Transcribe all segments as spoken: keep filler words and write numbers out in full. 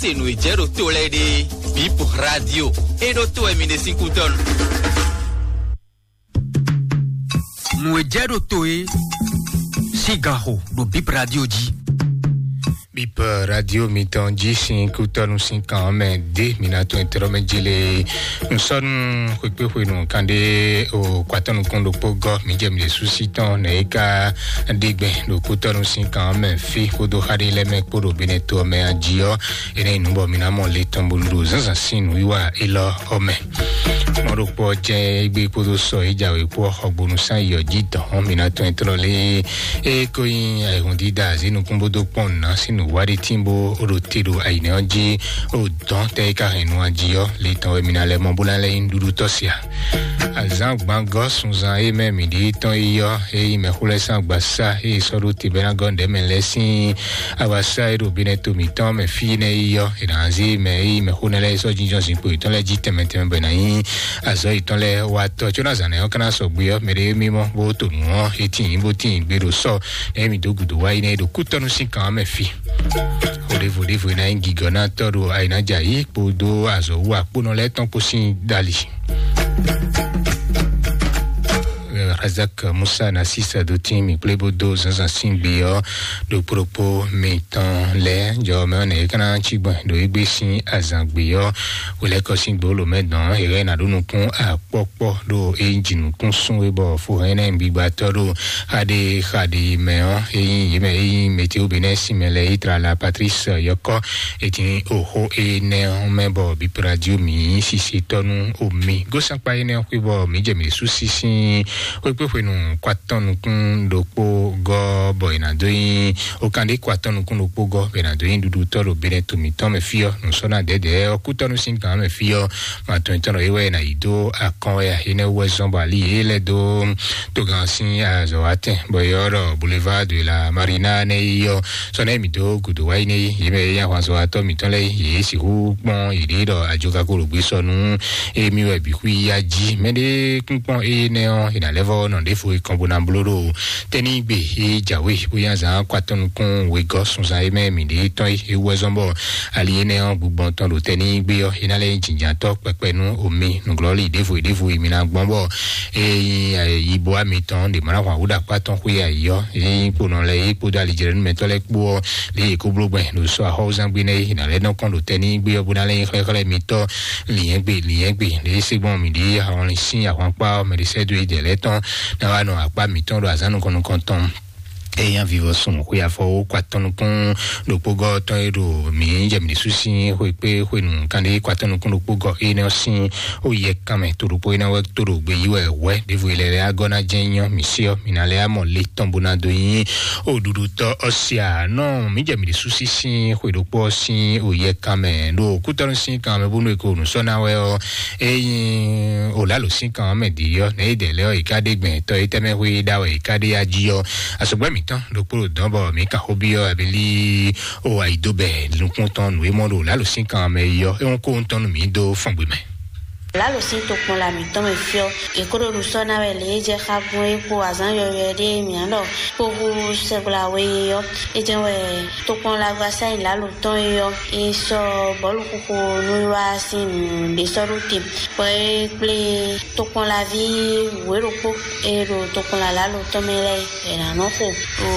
Se nǔ e jɛ ɖo to lɛ́ɛ ɖe, Bip Radio, e ɖo to wɛ mi ɖe sín kútɔ́nu. Nǔ e jɛ ɖo to e sín gan xo ɖo Bip Radio jí. Bip Radio mitɔn jí sín kútɔ́nu sín kan ɔ́ mɛ dé mi ná tɔn ɛtɛ́ mɛ jélé. Nǔsɔ́nù xwekpéxwenu kan ɖé o kwatɔ́ nukún ɖokpó gɔ́ mi jɛ mi ɖe súsí tɔn nɛ é ká ɖe gbɛn ɖo kútɔ́nu sín kan ɔ́ mɛ fí kpódó xá ɖé lɛ́ɛ mɛ kpó ɖo Benɛto ɔ́ mɛ ají ɔ́. Énɛ́ nyí nǔ bɔ mi ná mɔ le tɔn bónú ɖo zǎnzǎn sín nǔwiwa élɔ́ ɔ́ mɛ. Mɔ̌ ɖokpó ɔ́ jɛ́n égbé kpódó sɔ e jǎwe kpó ɔ́ xɔ gbonu sán yi ɔ́ jí dɔn ɔ́, mi ná tɔn e tlɔ́ lé e ko nyí ayihún dídá azí nukún bó dó kpɔ́n nǔ ná sín nǔ wá ɖé tín bó ɖo te ɖo ayǐnɛ ɔ́ jí. O dɔn tɛ e ka hɛn nu ají ɔ́, le tɔn wɛ mi ná lɛ́ mɔ bó ná lɛ́ nyí nǔɖuɖu tɔ́ sia. Azǎn gbangɔ sunzan e mɛ mi ɖi tɔn yi ɔ́, e yi mɛ xó lɛ́ sín agbasá e sɔ́ ɖó te bɛ́ ná gɔ́ nǔɖé mɛ lɛ́ɛ sín agbasá e ɖo Benɛto mǐtɔn mɛ fí nɛ́ yi ɔ́, è nǎ zé mɛ e yi mɛ xó nɛ́ lɛ́ɛ sɔ́ jínjɔ́n zinkpo yětɔn lɛ́ɛ jí tɛnmɛ tɛnmɛ bɔ è nǎ nyí azɔ̌ yětɔn lɛ́ɛ wá tɔ́. Có ná zǎn nɛ́ ɔ́ ka ná sɔgbe ɔ́, mɛ ɖé e mimɔ bó to nǔ ɔ́, e tíin bó tíin gbe ɖo sɔ́ nɛ́ mi dó gǔdo wá yi nɛ́ e ɖo kútɔ́nú sín kan ɔ́ mɛ fí. Xó ɖěvo ɖěvo e ná nyí gigɔ ná tɔ́ ɖo ayǐnájà yí kpódó azɔ̌ wú akpónɔ lɛ́ɛ tɔn kpó sín dali. Razak Musa na sisa do tin mi kple bo do zanzan sin gbe ɔ ɖokpo ɖokpo mi tɔn lɛ jɔ mɛ ne kana ci gbɔn do egbe sin azan gbe ɔ wele kɔ sin gbolo mɛ dɔn ere na ɖo nukun akpɔkpɔ ɖo eyi dzi nukun sun we bɔ fo hɛn nɛ gbigba tɔ ɖo xaɖe xaɖe mɛ ɔ eyi yemɛ eyi meteo benɛ sin mɛ lɛ yi tra la Patrice yɔkɔ. Eti oxó énɛ́ ɔ́ mɛ bɔ bipeladio mǐ sise tɔ́ nú omi gósankpa énɛ́ ɔ́ xwé bɔ mǐ jɛ mǐ sú sísín xwékpéxwenu kɔ atɔn nukún ɖokpó gɔ́ bɔ è nǎ dó nyí okanɖé kɔ atɔn nukún ɖokpó gɔ́ bɔ è nǎ dó nyí ɖuɖutɔ́ ɖo benɛ to mǐtɔn mɛ fí ɔ́ nǔsɔ́ná dɛ̌dɛ̌ ɔ́ kútɔ́nú sín gǎn mɛ fí ɔ́. Matɔn tɔn ɖɔ é wɛ è nǎ yi dó akɔn wɛ ǎ énɛ́ wú wɛ zɔ́n bɔ ali yě lɛ́ dó togán sín azɔ̌ wá tɛn bɔ é ɔ́ ɖɔ boulevard de la marina nɛ́ yi ɔ́ sɔ́ nɛ́ mǐ dó gǔdo wá yi nɛ́ yi yě mɛ e nyí ahwanzɔ́watɔ́ mǐtɔn lɛ́ɛ yě sixú kpɔ́n yěɖée ɖɔ ajokakologbe sɔ nú émí wɛ bǐ xwí yá jí mɛɖé kúnkpɔ́n énɛ́ ɔ́ è nǎ lɛ́ vɔ́ nɔ ɖěvo e kɔn bó ná bló ɖo tɛ́nígbe e jǎwe bó nyí azǎn kɔ atɔn nukún wegɔ́ sunzan e mɛ mǐɖée tɔn é é wú wɛ zɔ́n bɔ ali énɛ́ ɔ́ gbugbɔn tɔn ɖo tɛ́nígbe ɔ́ é ná lɛ́ nyí jǐnjǎntɔ́ kpɛkpɛ nú omi nǔglɔ́lí ɖěvo e ɖěvo e mi ná gbɔn bɔ eye yibo amitɔn ɖe mɔ ná hwan wú ɖo akpá tɔn xwé ayǐ ɔ́ eye kponɔ lɛ eye kpódó alijlɛnúmɛtɔ́ lɛ́ɛ kpó ɔ́ lě yě kó bló gbɛn ɖo sɔ́ axɔ́wúzán gbé nɛ́ ná lɛ́ nɔ kɔn ɖo tɛ ní gbé ɔ́ bó ná lɛ́ nyí xlɛ́xlɛ́ mitɔ́ lǐnyɛ́gbe lǐnyɛ́gbe lě é se gbɔn mǐ ɖě ahɔnlin sín ahwankpá ɔ́ mɛ ɖé sɛ́ dó yi dɛ̌ lɛ́ɛ tɔn ná wá nɔ akpá mǐtɔn ɖo azǎn nukɔn nukɔn tɔn. Eya vivɔ sun xwe afɔwo kɔ atɔn nukún ɖokpó gɔ́ tɔn e ɖo mǐ jɛ mǐ ɖésú sín xwe kpé xwenu kanɖé kɔ atɔn nukún ɖokpó gɔ́ énɛ́ ɔ́ sín ó yɛ kanmɛ to ɖokpó énɛ́ wɛ tó ɖo gbe yí wɛ hwɛ ɖěvo e lɛ lɛ agɔ́ ná jɛ́n nyɔ́ mǐ sí ɔ́ mǐ ná lɛ amɔ le tɔn bó ná dó nyí oɖuɖutɔ́ ɔ́ sia nɔ mǐ jɛ mǐ ɖésú sín xwe ɖokpó ɔ́ sín ó yɛ kanmɛ ɖo kútɔ́nú sín kanmɛ bónú e ko nǔ sɔ́ ná wɛ ɔ́. Eyin olalo sín kan mɛ di yɔ ne yi dɛ lɛ ɔ yi ka ɖe gbɛn tɔ yi tɛmɛ hu yi ɖa wɛ yi ka ɖe ya ji yɔ asɔgbɛ mǐtɔn ɖokpó ɖo dɔn bɔ mǐ ka xó bi yɔ abili o ayi do bɛ nukún tɔn nǔ e mɔ ɖo olalo sín kan mɛ yi yɔ e ŋu kó ŋutɔn nú mǐ dó fɔngbe mɛ. Lalo sín tokpɔn la mǐtɔn mɛ fiɔ. Yě kó ɖo nǔ sɔ́ ná wɛ lě e jɛ xá gbɔn é kpo azǎn yɔywɛ ɖé mǐa ɖɔ kpó hú sɛgbla we ɔ́. É jɛ́n wɛ tokpɔnlagbasá e lǎlo tɔn é ɔ́, é sɔ́ bɔ̌luxuxu nú wá sín nǔ ɖé sɔ́ ɖó te, bɔ é kplé tokpɔnlaví wěɖokpó e ɖo tokpɔnla lǎlo tɔn mɛ lɛ́ɛ é, è nǎ nɔ xo ɖo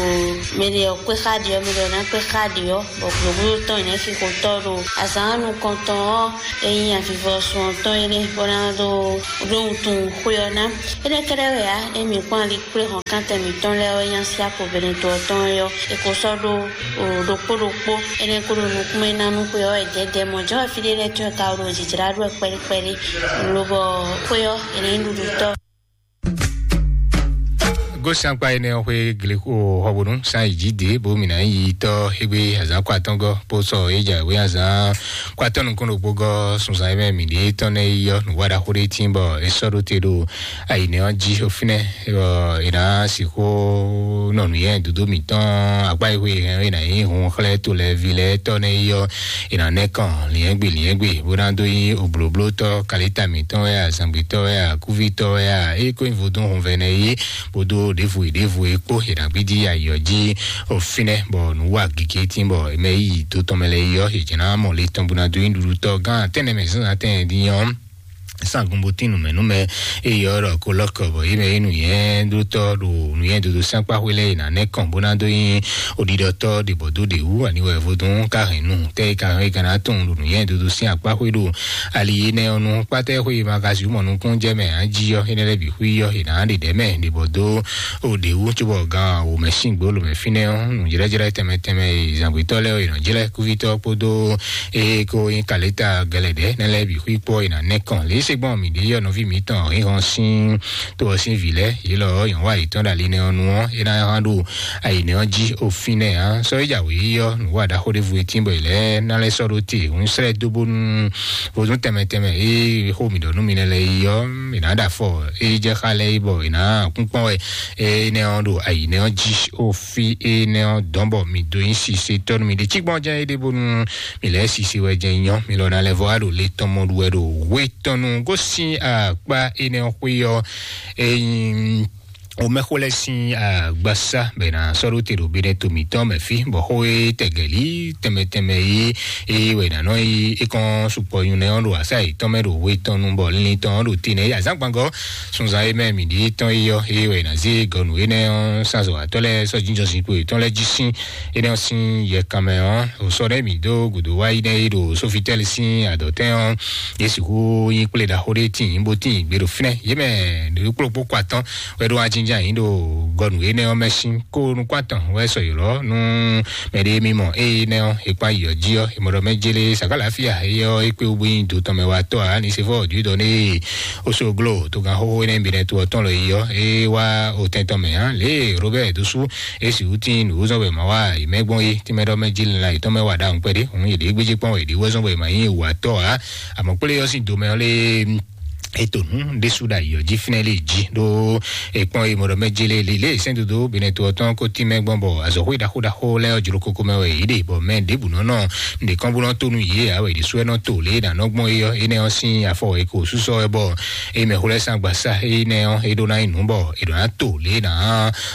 mɛ ɖě ɔ́ kpé xá ɖě ɔ́, mɛ ɖě ɔ́ ná kpé xá ɖě ɔ́, bɔ gǔdo tɔn è nǎ xixo tɔ́ ɖo azǎn nukɔntɔn ɔ́, é nyí avivɔsun ɔ́ tɔn é nɛ́, bó ná dó ɖó wuntun xwé ɔ́ ná. Énɛ́ kɛ́ɖɛ́ wɛ ǎ, émí kpɔ́n ali kplé hɔnkántɛn mǐtɔn lɛ́ɛ ɔ́ nyá sí akpo Benɛto ɔ́ tɔn é ɔ́, è ko sɔ́ ɖó ɖokpó ɖokpó. Énɛ́ ko ɖo nukún mɛ ná nú xwe ɔ́ wɛ dɛ̌dɛ̌ mɔ̌ jɔ́ wɛ fí ɖé lɛ́ɛ tɔn e ka ɖo jǐjlá ɖó wɛ kpɛɖí kpɛɖí. Lobɔ xwé ɔ́, è nǎ nyí ɖuɖutɔ́. Gósín akpa énɛ́ ɔ́ xwé glexo xɔbonu sán yi jí dě bó mǐ ná yi tɔ́ égbé azǎn kɔ atɔ́ngɔ́ bó sɔ é jɛ wé azǎn kɔ atɔ́ nukún ɖokpó gɔ́ sunzan e mɛ mǐ ɖě tɔn nɛ́ yi ɔ́ nǔwá ɖaxó ɖé tín bɔ é sɔ́ ɖó te ɖo ayǐnɛ ɔ́ jí xó fínɛ́ bɔ è nǎ sixú nɔ nǔnywɛ́ dodó mǐtɔn akpá e xwe hɛn é nǎ nyí hun xlɛ́ to lɛ́ɛ ví lɛ́ɛ tɔ́ nɛ́ yi ɔ́ è nǎ nɛ́ kɔn lǐnyɛ́gbe lǐnyɛ́gbe bó ná dó nyí oblǒblótɔ́ kalita mǐtɔn wɛ azǎngbetɔ́ wɛ akúvítɔ́ wɛ a é kó nyí vodún hunvɛnɛ yí bó dó ɖěvo e ɖěvo e kpó è nǎ gbídí ayǐ ɔ́ jí o fínɛ́, bɔ nǔ wa gěgé tín bɔ è mɛ yí dó tɔn mɛ lɛ́ɛ yi ɔ́, è jɛ ná mɔ le tɔn bó ná dó nyí ɖuɖutɔ́ gán tɛ́nnɛ mɛ zínzán tɛ́nnɛ dín ɔ́. Sangun bó tín nǔmɛnúmɛ eye ɔ́ ɖɔ kó lɔ́kɔ bɔ yě mɛ yí nǔnyɛ́dótɔ́ ɖo nǔnyɛ́dódó sín akpá xwé lɛ́ɛ è nǎ nɛ́ kɔn bó ná dó nyí oɖiɖɔtɔ́ ɖě bɔ dó ɖě wú, ani wɛ vodún ka hɛn nu tɛ́ e ka hɛn e ka ná tunwun ɖo nǔnyɛ́dódó sín akpá xwé ɖo ali énɛ́ ɔ́ nu. Kpátá xwé e ma ka sixú mɔ nukúnnú jɛ mɛ ǎ jí ɔ́, énɛ́ lɛ́ɛ bǐ xwí ɔ́ è nǎ ɖe ɖɛ̌ mɛ ɖě bɔ dó o ɖě wú cóbɔ gan wǒ mɛ sín gbolo mɛ fínɛ́ ɔ́, nǔjlɛ́jlɛ́ tɛnmɛ tɛnmɛ e zǎngbetɔ́ lɛ́ɛ ɔ́ è nɔ jlɛ́ kúvítɔ́ kpódó eye ko nyí kaleta gɛlɛdɛ nɛ lɛ́ɛ bǐ xwí kpɔ e nǎ nɛ́ kɔn lě se gbɔn mǐ ɖe yɔ nɔví mǐtɔn hǐnhɔn sín tó ɔ́ sín vǐ lɛ́ɛ yě lɔ ɔ́ yɔn wá yětɔn ɖo ali nɛ ɔ́ nu ɔ́ é ná hán ɖo ayi nɛ ɔ́ jí o fínɛ́ ǎ. Sɔ́ é jǎ wě yí ɔ́ nǔ wa ɖaxó ɖěvo e tín bɔ è lɛ́ɛ ná lɛ́ sɔ́ ɖó te hǔn srɛ́ dó bónú vodún tɛnmɛ tɛnmɛ e xó mǐ ɖɔ nú mi nɛ lɛ́ɛ yi ɔ́ è nǎ ɖo afɔ é jɛ xá lɛ́ɛ yi bɔ è nǎ kún kpɔ́n wɛ énɛ́ ɔ́ ɖo ayi nɛ ɔ́ jí o fí énɛ́ ɔ́ dɔn bɔ mǐ dó nyí sise tɔ́ nú mi ɖe cí gbɔn jɛ́n é ɖe bónú mi lɛ́ sise wɛ jɛ nyɔ mi lɔ na lɛ vɔ wá ɖo le tɔn mɔ ɖu wɛ ɖo hwe tɔn nu gosín akpá énɛ́ ɔ́ xwé ɔ́. Eyin omɛxó lɛ́ sín agbasá bɛ na sɔ́ ɖó te ɖo benɛ to mǐtɔn mɛ fí bɔ xó e tɛgɛlí tɛnmɛ tɛnmɛ yi eye wɛ nǎ nɔ yi é kɔn sukpɔ nyunɛ ɔ́ ɖo asá yětɔn mɛ ɖo hwe tɔn nu bɔ linlin tɔn ɔ́ ɖo te nɛ yi azǎngbangɔ sunzan e mɛ mǐ ɖi tɔn yi ɔ́ eye wɛ nǎ zé gɔnu énɛ́ ɔ́ sazɔ atɔ́ lɛ́ɛ sɔ́ jínjɔ́n zinkpo yětɔn lɛ́ɛ jí sín énɛ́ ɔ́ sín yɛkan mɛ ɔ́. Sɔ ɖé mǐ dó gǔdo wá yi nɛ́ yi ɖo sófitɛ́li sín adɔ̌tɛn ɔ́, yě sixú nyí kplé ɖaxó ɖé tíin bó tíin gbé ɖo fínɛ́. Yě mɛ ɖě kplɔ́kpó kɔ atɔ́n wɛ ɖó ajínjɛ́n ayǐ ɖo gɔnu énɛ́ ɔ́ mɛ sín kó nukún atɔn wɛ sɔ ylɔ́ nú mɛ ɖé mì mɔ eye nɛ́ ɔ́ è kpán yi ɔ́ jí ɔ́ è mɔ ɖɔ mɛ jélé sàkálàáfíà éyɛ́ ɔ́ é kpé wú bó nyí do tɔn mɛ wá tɔ́ ǎ ní sefɔ ɔ́ dǐdɔ ní osoglo togan xóxó énɛ́ bǐ nɛ́ to ɔ́ tɔn lɔ yi ɔ́ é wá otɛn tɔn mɛ ǎ lě e robert dó sú é sixú tín nǔ zɔn wɛ ma wá yi mɛ gbɔn é tínmɛ ɖɔ mɛ jélé la yětɔn mɛ wá ɖa ŋukpɛ ɖé òun yě ɖě gbéjé kpɔ́n wɛ yě ɖě wɛ zɔn wɛ ma nyí wǎtɔ́ ǎ. Àmọ́ kplé ɔ́ sín domɛ ɔ́ lé ètò nǔ ɖésú ɖo ayǐ ɔ́ jí fínɛ́ lé jí ɖó èkpɔ́n e mɔɖɔ mɛ jélé lé lé sɛ́n dodo benɛ to ɔ́ tɔn kó tín mɛ gbɔn bɔ azɔ̌xwé ɖaxó ɖaxó lɛ́ɛ ɔ́ jló kókó mɛ wɛ yě ɖe bɔ mɛ ɖěbǔ nɔ nɔ nǔɖé kɔn bó nɔ tó nú yě ǎ wɛ ɖésú ɛ nɔ to lě e nǎ nɔ gbɔn é ɔ́ énɛ́ ɔ́ sín afɔ e ko súsɔ wɛ bɔ é mɛ xwlɛ́ sín agbasá énɛ́ ɔ́ é ɖó ná nyí nǔ bɔ è ɖǒ ná to lě e nǎ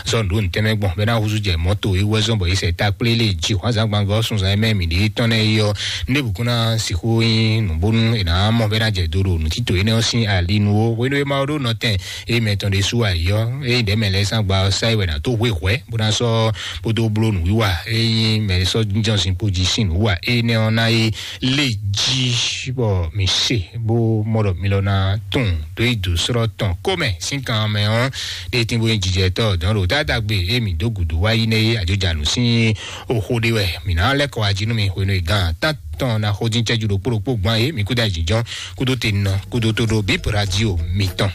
zɔ nǔɖó nǔtɛnmɛ gbɔn bɔ é ná húzú jɛ mɔ̌ to é wú ɛ zɔ́n bɔ é sɛ ta kplé lé jí hwǎnzǎngbangɔ sunzan e mɛ mǐ ɖe tɔn nɛ́ é ɔ́. Nɖěbǔ kún ná sixú nyí nǔ bónú è nǎ mɔ bɔ é ná jɛ do ɖo nǔtito énɛ́ ɔ́ sín ali nu ó. Hwenu e Mawu ɖó nɔtɛn é mɛ tɔn ɖésú ayǐ ɔ́, é ɖɛ̌ mɛ lɛ́ɛ sín agba ɔ́ sá yi wɛ ná dó hwe hwɛ̌ bó ná sɔ́ bó dó bló nǔwiwa é nyí mɛ sɔ́ jínjɔ́n zinkpo jí sín nǔwiwa énɛ́ ɔ́ ná yi lé jí bɔ mǐ se bó mɔ ɖɔ mi lɔ ná tunwun dó yi dǒ slɔ́ tɔn kó mɛ sín kan mɛ ɔ́. Ɖé tín bó nyí jijɛtɔ́ dɔn ɖo tátagbe é mǐ dó gǔdo wá yi nɛ́ é àjọjǎnú sín oxo ɖé wɛ mǐ ná lɛ́ kɔ wá jí nú mi hwenu e gan tántɔn ná xó dín cɛ́jú ɖokpó ɖokpó gbɔn é mǐ kúdó ayǐjínjɔ́n kúdó te nɔ kúdó tó ɖó bíp radio mitɔn.